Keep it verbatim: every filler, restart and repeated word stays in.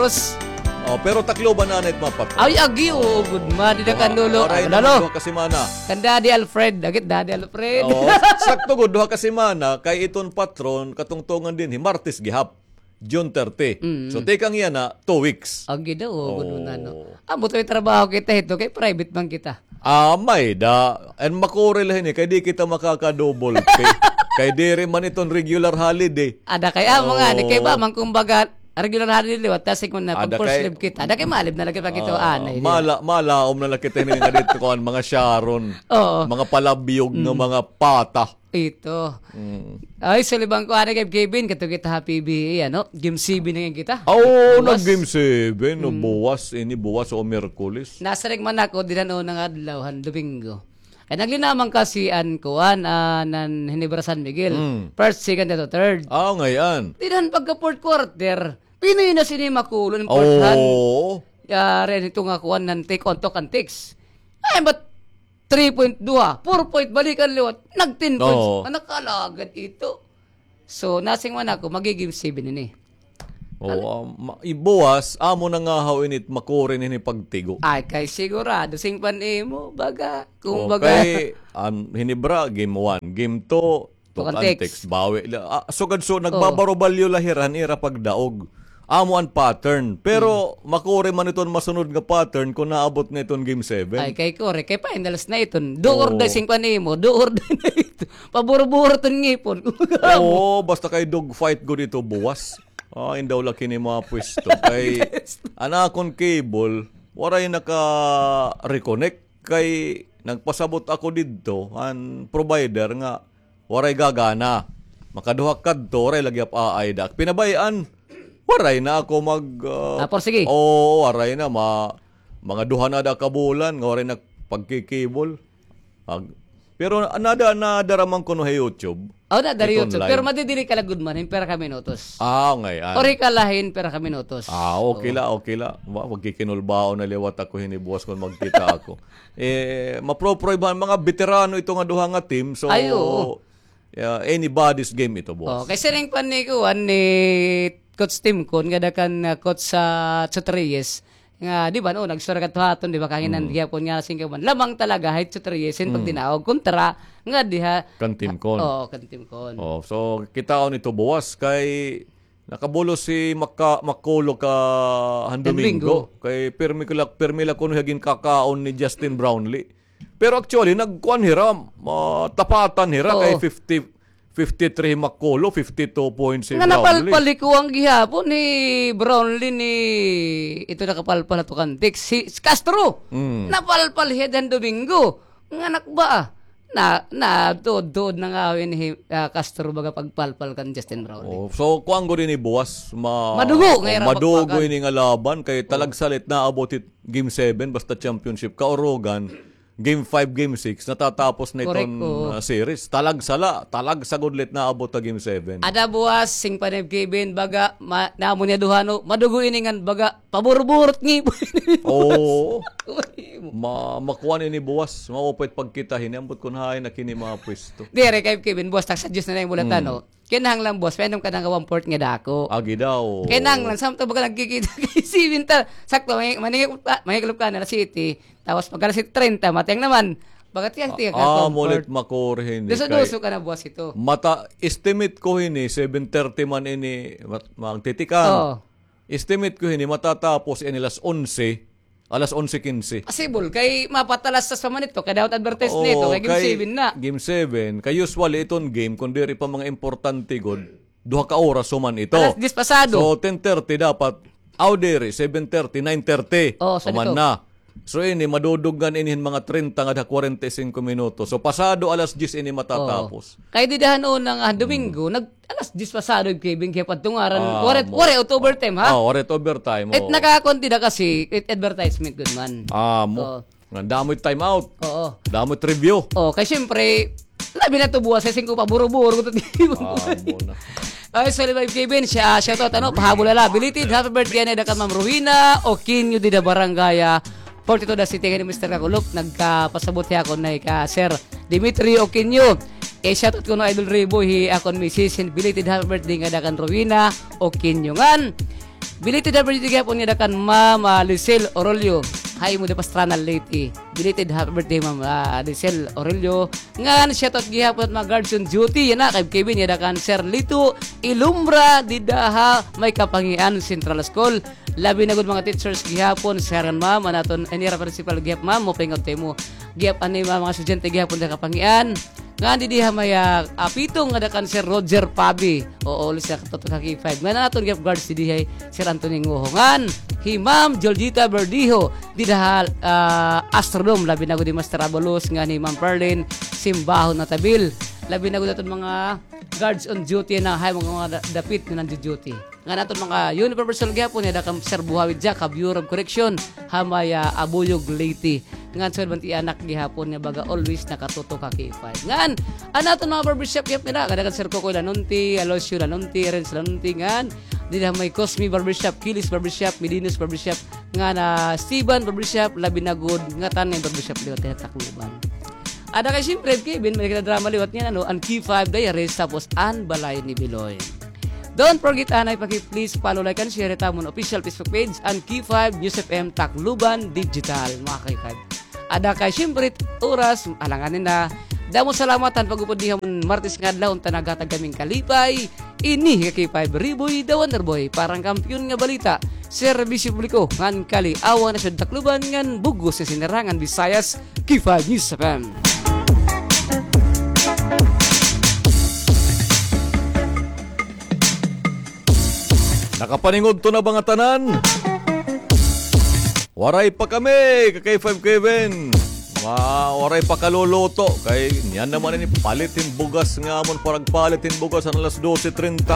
Ros. Oh, pero Tacloban na it mapatron. Ay, agi, oo, gud man. Dida kan Lolo. Waray na man duha ka semana. Kan Daddy Alfred. Agit, Daddy Alfred. Oo, sakto gud, duha ka semana, kay iton patron, katungtungan dinhi, Martes gihap, June thirty. Mm. So, tikang yana, two weeks. Agi daw, oo, gud man, no? Ambot may trabaho kita hito, kay private man kita. Ah, may da. And makuri la hini, kay di kita makaka-double pay. Kay diri man iton regular holiday. Ada kay amo ngani, kay ba man kumbaga, regular holiday liwat, tas ikon na, pag first leave kita. Ada kay malib na lagi pa kita, anay. Mala, malaom na la kita hini nga dito, kuan, mga Sharon. Oo. Mga palabyog nga mga pata. Ito. Mm. Ay, sulibang ko, anay kay Kevin, kato kita ha P B A, ano? Game seven na ngay-an kita. Oo, nag-game seven, no, buwas, ini buwas o Miyerkules. Nasiring man ako, dida han una nga adlaw, han Domingo. Kay naglinamang kasi an kuan, ah, nan Ginebra San Miguel. Mm. First, second, ato third. Ah, ngay-an. Dida han pagka fourth quarter, pinoy na sini makulon, important. Oo. Yari, ito nga kuan, nan take on, talk and text. Ay, but three point, duha, four point, balikan liwat. Nag-ten points. Oo. Ah, nakalagad ito. So, nasiring man ako, magi-game seven ini. Oo, ah, ma-, ibuwas, amo na nga haw init, makuri ini pagtigo. Ay, kay sigurado, siring pa nimo, baga, kumbaga. Kay, an Ginebra, game one, game two, talk and text. Bawi la. Ah, sugad so, nagbabarobalyo la hira han ira pagdaog. Amo an pattern. Pero, makuri man iton masunod nga pattern kon naabot na iton game seven. Ay, kay kuri, kay finals na iton. Do or die, siring pa nimo, do or die na iton. Paburo-buro iton ngipon. Oo, basta kay dog fight gud ito buwas. Ah, indaw la kini mga pwesto. Kay, an akon cable, waray naka-reconnect. Kay, nagpasabot ako didto, an provider nga, waray gagana. Makaduha kadto, waray lagi ap-aay da. Pinabay-an, waray na ako mag, ah, ah, porsige. Oo, waray na. Ma-, mga duha na da ka bulan, nga waray na pagkikibol. Ag-, pero nada, nadara man kuno ha YouTube. Oh, nadara ha YouTube. Pero madidiri ka la gud man, hin pira ka minutos. Ah, ngay-an. Ori ka la hin pira ka minutos. Ah, okay la, okay la. Wa, magkikinulbaon na liwat ako hini buwas kon magkita ako. Eh, maproproybahan, mga beterano ito nga duha nga team. So, ay, oo. Yeah, anybody's game ito, boss. Oh, kay siring pa ni kuan ni Coach Tim Con, ngada kan, ah, Coach sa Chot Reyes, nga, di ba, no, nagsura ka tuhaton, di ba, kahanginan gihapon nga singkaban. Lamang talaga, hay Chot Reyes, hin pagdinaog, kontra, nga diha. Kan Tim Con. Oo, kan Tim Con. Oh, so, kitaon ito buwas, kay nakabulos si Maka-, Makulo ka han Domingo. Domingo. Kay pirmi ko la, pirmi la kuno hiya ginkakaon ni Justin Brownlee. Pero actually, nagkuan hira, ah, tapatan hira kay fifty, fifty-three Makulo, fifty-two points si Brownlee. Nga napalpal hi kuan gihapon ni Brownlee ni, ito nakapalpal ha tukan tik, si, si Castro. Mm. Napalpal hiya han Domingo. Nga nakba, ah. Na, na, tuod-tuod na nga hin hi, ah, Castro baga pagpalpal kan Justin Brownlee. Oh, so, kuan gud ini buwas, ma-, madugo nga ira madugo ini nga laban, kay talagsa la it naabot hit game seven, basta championship, kaurugan, game five, game six, natatapos na iton, ah, series. Talagsa la, talagsa gud la it naabot ha game seven. Ada buwas, siring pa ni Kevin, baga, ma-, namo niya duha, no, madugo ini ngan, baga, paburburot ngipon. Oo. Ma-, makuan ini buwas, maupay it pagkita hini, ambot kon hain na kini mga pwesto. Diri kay Kevin, buwas, tagsa Diyos na la yung bulat, ano. Kinahanglan, boss, painom ka na nga one-fourth nga dako. Agi daw. Kinahanglan, samtang baga nagkikita kay seven ta. Sakto, may, maningil-, maningilop ka na alas siyete. Tapos pag alas siyete treinta, matiyang naman. Baga tiyang-tiyang ka, ah, one-fourth. Mulit makur hini. Duso-duso ka na, boss, ito. Mata-, estimate ko hini, seven thirty man ini, mat-, magtitikang. Oo. Estimate ko hini, matatapos ini alas onse. Alas onse quince. Possible, kay mapatalastas pa man ito, kay dapat advertise na ito, kay game seven na. Game seven, kay usually iton game, kon diri pa mga importante gud, duha ka oras human ito. Alas diyes pasado. So, ten thirty dapat, aw diri, seven thirty, nine thirty, human na. So, ini, maduduggan ini hin mga treinta ngada kwarenta y singko minutos. So, pasado alas diyes ini matatapos. Kay dida han una nga Domingo, nag-, alas diyes pasado, Kevin, kay padtungaran. Ah, waray, waray it overtime, ha? Ah, waray it overtime, oo. It nakakuan dida kasi, it advertisement gud man. Ah, mo. Oo. Nga damo it time out. Oo. Damo it review. Oo, kay siyempre, labi na ito buwas, kay singko pa, buro-buro, ito. Ah, mo na. Ay, sorry, Kevin, siya, shout out, ano, pahabol la la. Belated happy birthday ngada kan Ma'am Rowena Oquino dida Barangay, ah, forty-two, the city, kay ni Mister Kakulop, nagkapasabot hiya akon na ka Sir Dimitri Oquino. Eh, shoutout kuno Idol Reboy, hi akon misis, hin belated happy birthday ngada kan Rowena Oquino ngan. Belated happy birthday gihapon ngada kan Ma'am, ah, Lisel Orolio. Hay mo da Pastrana Leyte. Belated happy birthday, Ma'am, ah, Lisel Orolio. Ngan shoutout gihapon mga guards on duty. Yana kay Kevin, ngada kan Sir Lito Ilumbra, dida ha may Kapangian Central School. Labi na gud mga teachers gihapon, sir ngan ma'am, an aton, an ira principal gihap, ma'am, maupay nga timo. Gihap ani mga, mga estudyante gihapon da Kapangian. Ngan didi ha may, ah, ah, pitong ngada kan Sir Roger Pabi. Oo, ulit siya katutok ha K five. Ngan an aton gihap guards didi hay Sir Anthony Nguho. Ngan hi Ma'am Joljita Berdijo, dida ha, ah, Astrodome, labi na gud hi Master Abalos, ngan hi Ma'am Perlin Simbahon Natabil. Labi na gud aton mga guards on duty na hay mga, mga da-, dapit nga nagdu-duty. Ngan aton mga uniform personnel gihapon, ngada kan Sir Buhawi Jack ha Bureau of Correction ha may, ah, Abuyog, Leyte. Ngan sugad man it iya anak gihapon nga baga always nakatutok ha K five. Ngan an aton mga barbershop gihap nira, ngada kan Sir Kokoy Lanonti, Aloysiu Lanonti, Renz Lanonti, ngan dida ha may Cosme Barbershop, Kilis Barbershop, Medinos Barbershop, ngan, ah, Steven Barbershop, labi na gud ngatan nga barbershop liwat ha Tacloban. Ada kay siyempre, Kevin, may kinadrama liwat niyan, ano, an K five Diaries, tapos an Balay ni Biloy. Don't forget, anay, paki-please follow, like, and share it amon official Facebook page, an K five News F M Tacloban Digital, mga K five. Ada kay siyempre, oras, alanganin na. Damo salamat han pag-upod niyo han Martes nga adlaw, unta naghatag kami hin kalipay. Ini nga K five Riboy, the Wonder Boy, para han kampiyon nga balita, serbisyo publiko, ngan kaliawan ha Siyudad Tacloban, ngan bug-os nga sinirangan Visayas, K five News F M. Nakapaningudto na ba ngatanan? Waray pa kami, ka K five Kevin. Ma, waray pa kaluluto. Kay niyan naman ini palit hin bugas nga amon paragpalit hin bugas han alas dose treinta.